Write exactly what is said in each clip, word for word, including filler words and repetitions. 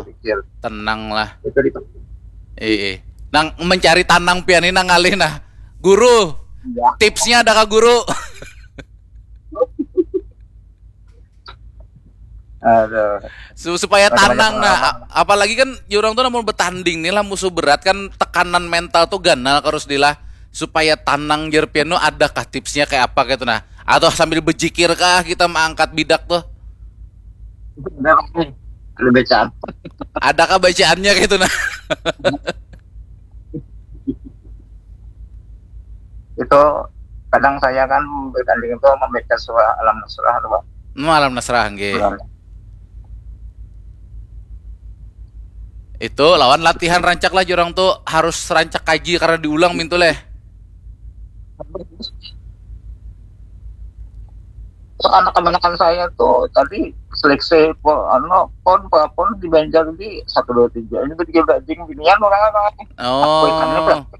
pikir. Tenang lah. Itu di Eh, eh. Nang mencari tanang pian ini nang ngalih nah. Guru, ya. Tipsnya ada kah guru? Aduh. Su- supaya Bagaimana tanang nah pengalaman? A- apalagi kan jurang tuh namun bertanding nih lah, musuh berat kan, tekanan mental tuh ganal karus dilah. Supaya tanang jer pian tuh, adakah tipsnya kayak apa gitu nah? Atau sambil berjikir kah kita mengangkat bidak tuh? Ada nih. Ada bacaan. Adakah bacaannya gitu nah? Itu kadang saya kan bertanding itu membaca surah Alam Nasrah tuh, Pak. Hmm, Alam Nasrah nggih. Surah. Itu lawan latihan rancak lah jurang tuh, harus rancak kaji karena diulang mintu leh. Terus anak kemenakan saya tuh tadi seleksi po, anu, pon, pon di Banjar di satu dua tiga ini bertiga bajing binian orang apa? Aku ikannya Oh. berapa?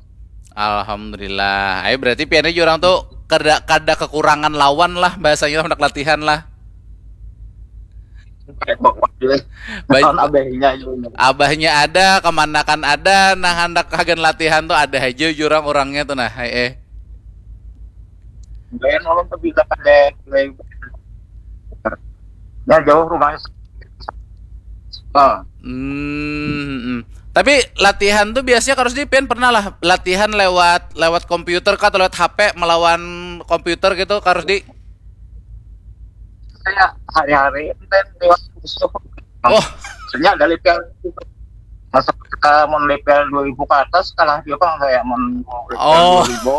Alhamdulillah. Ayo berarti piannya jurang tuh kada kada kekurangan lawan lah, bahasanya hendak latihan lah. Kayak bawa dia. Baik. Tahun abahnya juga. Abahnya ada, kemanakan ada, nah hendak hagan latihan tuh ada aja jurang orangnya tuh nah. Eh, eh. Bayar orang tuh bisa ada. Ya jauh rumahnya. Oh, Hmm, hmm. Tapi latihan tuh biasanya Karus di pian pernah lah latihan lewat lewat komputer kah atau lewat H P melawan komputer gitu Karus di? Saya hari-hari itu lewat musuh. Oh, Maksudnya dari piala masa kita mau dari piala dua ribu ke atas kalah dia bang, saya mau dari piala Oh. dua ribu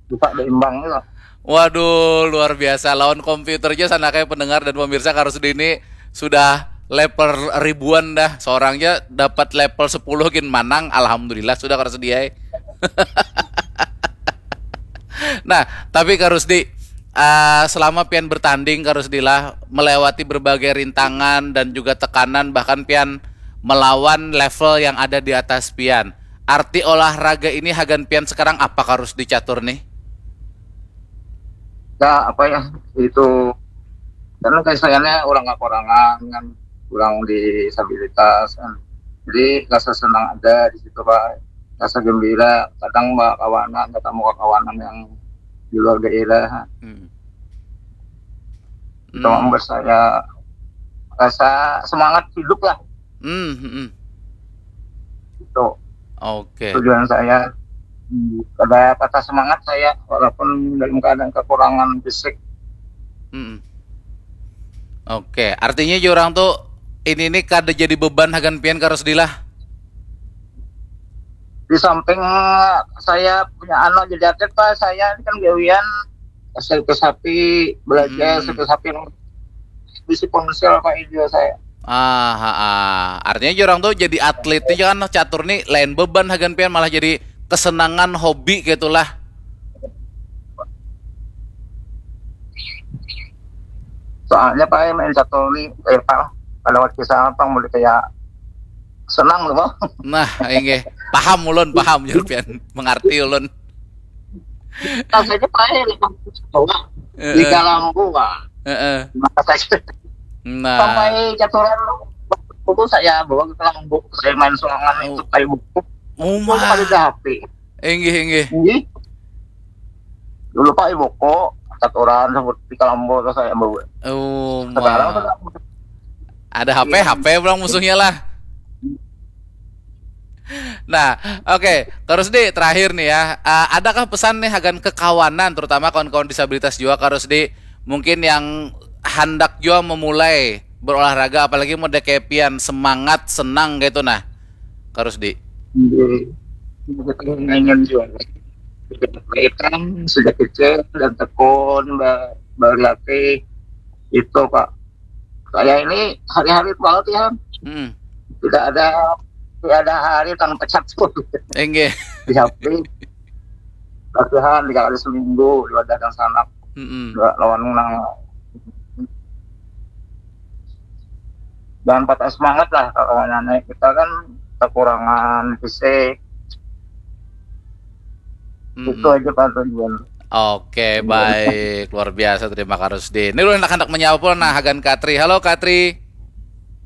buka berimbang gitu. Waduh, luar biasa lawan komputer aja sana kayak pendengar dan pemirsa Karus di ini sudah level ribuan dah. Seorangnya dapat level sepuluh gin manang, alhamdulillah sudah Karus di ai. Nah, tapi Karus di eh, selama pian bertanding Karus di lah melewati berbagai rintangan dan juga tekanan, bahkan pian melawan level yang ada di atas pian. Arti olahraga ini hagan pian sekarang apa Karus di catur nih? Ya apa ya itu karena kayak sayanya orang kekurangan kan, orang disabilitas kan, jadi rasa senang ada di situ pak, rasa gembira kadang bawa kawanan ketemu kawanan yang di luar daerah Hmm. itu membuat saya rasa semangat hidup lah Hmm, hmm, hmm. itu Oke. tujuan saya. Hmm, ada patah semangat saya walaupun dalam keadaan kekurangan fisik. Hmm. Oke, artinya jurang tuh ini nih kada jadi beban hagan pian Karus di lah. Di samping saya punya anak jadi atlet pak, saya ini kan gawian hasil ke sapi belajar Hmm. hasil ke sapi bisi ponsel pak video saya. Ah, ha, ah. Artinya jurang tuh jadi atlet nih kan catur nih lain beban hagan pian malah jadi kesenangan hobi gitulah. Soalnya pak main catur nih eh pak kalau waktu saya apa mulai kayak senang loh bang. Nah, inggih. Paham ulun, paham jer pian. Mengerti ulun. Rasanya pak ya lepas bawah Eh, di eh, Kalambu pak. eh, eh. Maka saya Nah, sampai caturan itu saya bawa ke Kalambu, saya main sorangan Oh. Itu kayak buku Oh, itu ada mah. di H P. Inggih, inggih. Ini dulu pak ibuku caturan seperti Kalambu terus saya bawa. Oh, Sekarang mah. sudah Ada H P, Iya. H P pulang musuhnya lah. Nah, oke, Kak Rusdi, terakhir nih ya, eh, adakah pesan nih hagan kekawanan, terutama kawan-kawan disabilitas juga, Kak Rusdi, mungkin yang handak juga memulai berolahraga, apalagi mau dekepian semangat, senang gitu, nah, Kak Rusdi. Jadi, kita ingin juga. Kita sejak kecil dan tekun, ba- berlatih, itu, Pak. Saya ini hari-hari latihan. Hmm. Tidak ada tidak ada hari tanpa catur. Enggih. Di H P. Latihan tiga kali seminggu, di wadah dan sanak. Mm-mm. Nggak lawan nang jangan patah semangat lah kalau nanya kita kan kekurangan fisik. Mm-mm. Itu aja Pak tujuan. Oke, baik. Luar biasa, terima kasih Rusdi. Ini lu anak-anak menyapa, nah, Hagan Katri. Halo, Katri.